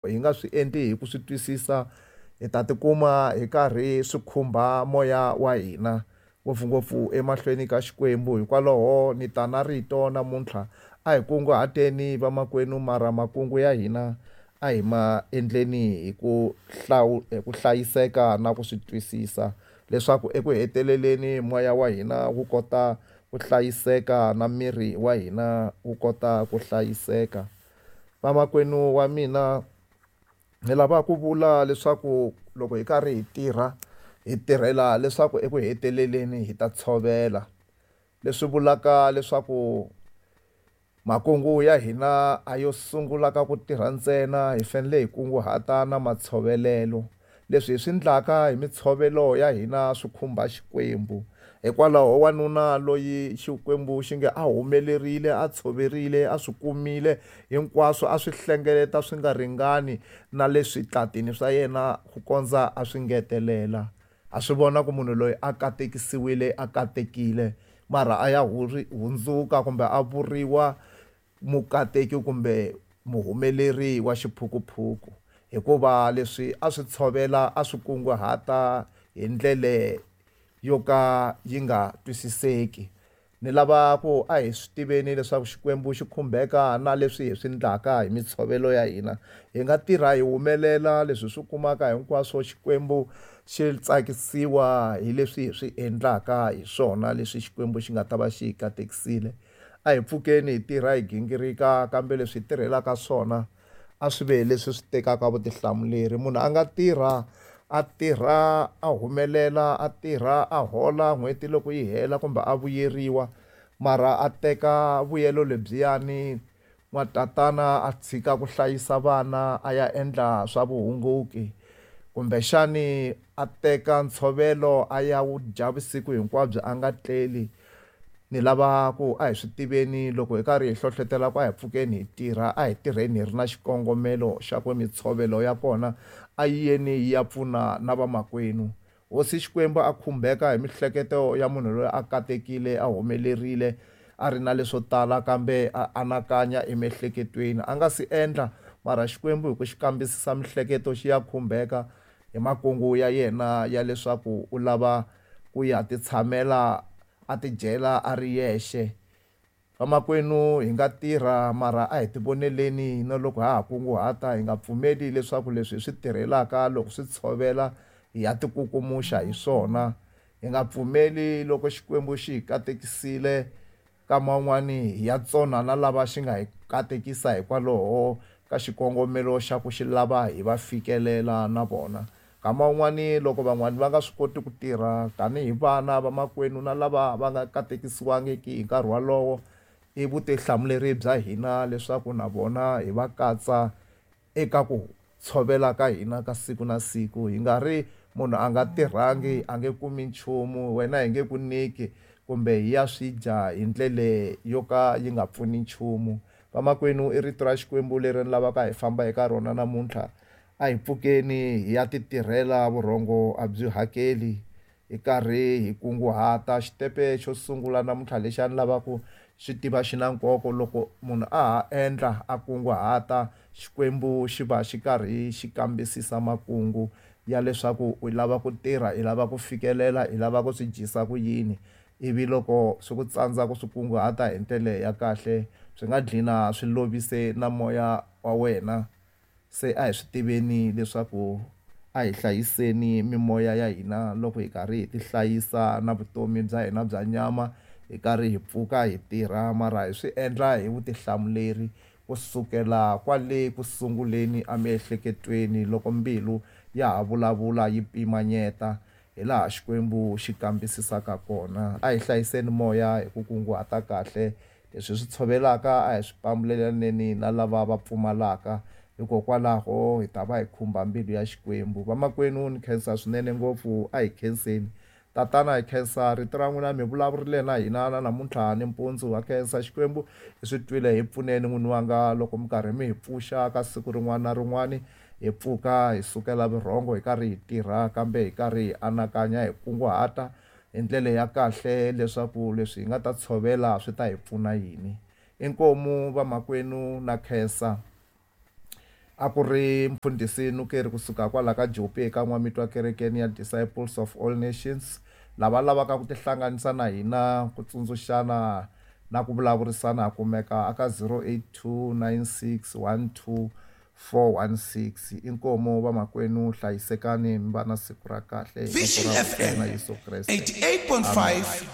Hi nga swi endli hi ku swi twisisa hi ta tikuma hi karhi swi khumba moya wa hina ngopfungopfu emahlweni ka Xikwembu. Hikwalaho ni ta na rito namuntlha a hi kunguhateni vamakwenu mara makungu ya hina a hi ma endleni hi ku hi ku hlayiseka na ku swi twisisa leswaku eku heteleleni moya wa hina wu kota ku hlayiseka na miri wa hina wu kota ku hlayiseka. Vamakwenu wa mina ni lava ku vula leswaku loko hi karhi hi tirha hi tirhela leswaku eku heteleleni hi ta tshovela leswi vulaka leswaku makungu ya hina a yo sungula ka ku tirha ntsena hi fanele hi kunguhata na matshovelelo leswi hi swi endlaka hi mitshovelo ya hina swi khumba Xikwembu hikwalaho wanuna loyi Xikwembu xi nge a humelerile a tshoverile a swi kumile hinkwaswo a swi hlengeleta swi nga ringani na le switlatini swa yena ku kondza a swi ngetelela ha swi vona ku munhu loyi a katekisiwile a katekile mara a ya hundzuka kumbe a vuriwa mukateki kumbe muhumeleri wa xiphukuphuku hikuva leswi a swi tshovela a swi kunguhata hi ndlele yo ka yi nga twisiseki. Ni lava ku a hi swi tiveni leswaku Xikwembu xi khumbeka na leswi hi swi endlaka hi mitshovelo ya hina. Hi nga tirha hi humelela leswi hi swi kumaka hinkwaswo Xikwembu xi tsakisiwa hi leswi hi swi endlaka hi swona leswi Xikwembu xi nga ta va xi hi katekisile. A hi pfukeni hi tirha hi gingirika kambe leswi hi tirhelaka swona a swi ve leswi swi tekaka vutihlamuleri. Munhu a nga tirha a tirha a humelela a tirha a hola n'hweti loko yi hela kumbe a vuyeriwa mara a teka vuyelo lebyiyani n'watatana a tshika ku hlayisa vana a ya endla swa vuhunguki kumbexani a teka ntshovelo a ya wu dya vusiku hinkwabyo a nga tleli ni lava ku a hi swi tiveni loko hi karhi hi hlohlotela ku a hi pfukeni hi tirha a hi tirheni hi ri na xikongomelo xa ku mitshovelo ya kona a yi yeni yi ya pfuna na vamakwenu. Hosi Xikwembu a khumbeka hi mihleketo ya munhu loyi a katekile a humelerile a ri na leswo tala kambe a anakanya emiehleketweni a nga si endla mara Xikwembu hi ku xi kambisisa mihleketo xi ya khumbeka hi makungu ya yena ya leswaku u lava ku ya titshamela a tidyela a ri yexe. Vamakwenu hi nga tirha mara a hi tivoneleni na loko ha ha kunguhata hi nga pfumeli leswaku leswi hi swi tirhelaka loko swi tshovela hi ya tikukumuxa hi swona. Hi nga pfumeli loko Xikwembu xi hi katekisile nkama wun'wani hi ya tsona na lava xi nga hi katekisa hikwalaho ka xikongomelo xa ku xi lava hi va fikelela na vona. Nkama wun'wani loko van'wani va nga swi koti ku tirha tanihi vana vamakwenu na lava va nga katekisiwangiki hi nkarhi wolowo i vutihlamuleri bya hina leswaku na vona hi va katsa eka ku tshovela ka hina ka siku na siku. Hi nga ri munhu a nga tirhangi a nge kumi nchumu wena hi nge ku nyiki kumbe hi ya swi dya hi ndlele yo ka yi nga pfuni nchumu. Vamakwenu i rito ra Xikwembu leri ni lavaka hi famba eka rona namuntlha a hi pfukeni hi ya ti tirhela vurhongo a byi hakeli hi karhi hi kunguhata. Xitepe xo sungula namuntlha lexi a ni lava ku xi tiva xi na nkoka loko munhu a ha endla a kunguhata Xikwembu xi va xi karhi xi kambisisa makungu ya leswaku u lava ku tirha i lava ku fikelela i lava ku swi dyisa ku yini ivi loko swi ku tsandza ku swi kunguhata hi ndlela ya kahle swi nga dlina swi lovise na moya wa wena. Se a hi swi tiveni leswaku a hi hlayiseni mimoya ya hina loko hi karhi hi tihlayisa na vutomi bya hina bya nyama hi karhi hi pfuka hi tirha mara hi swi endla hi vutihlamuleri kusukela kwale ku sunguleni emiehleketweni loko mbilu ya ha vulavula yi pimanyeta hi laha Xikwembu xi kambisisaka kona. A hi hlayiseni moya hi ku kunguhata kahle leswi hi swi tshovelaka a hi swi pambulelaneni na lava va pfumalaka hikokwalaho hi ta va hi khumba mbilu ya Xikwembu. Vamakwenu ni khensa swinene ngopfu a hi khenseni tatana hi khensa rito ra n'wina mi vulavurile na hina na namuntlha nimpundzu ha khensa Xikwembu hi swi twile hi pfuneni n'wini wanga loko mi karhi mi hi pfuxa ka siku rin'wana na rin'wana hi pfuka hi sukela vurhongo hi karhi hi tirha kambe hi karhi hi anakanya hi kunguhata hi ndlela ya kahle leswaku leswi hi nga ta tshovela swi ta hi pfuna yini. Inkomu vamakwenu na khensa. A ku ri mfundhisi Nukeri kusuka kwala ka Jopi eka N'wamitwa kerekeni ya Disciples of All Nations. Lava lavaka ku tihlanganisa na hina ku tsundzuxana na ku vulavurisana ha kumeka aka 082 96 12 416. Inkomu vamakwenu, hlayisekani mi va na siku ra kahle hi vito Vision ra Hosi ya FM hina Yesu Kreste. 88.5.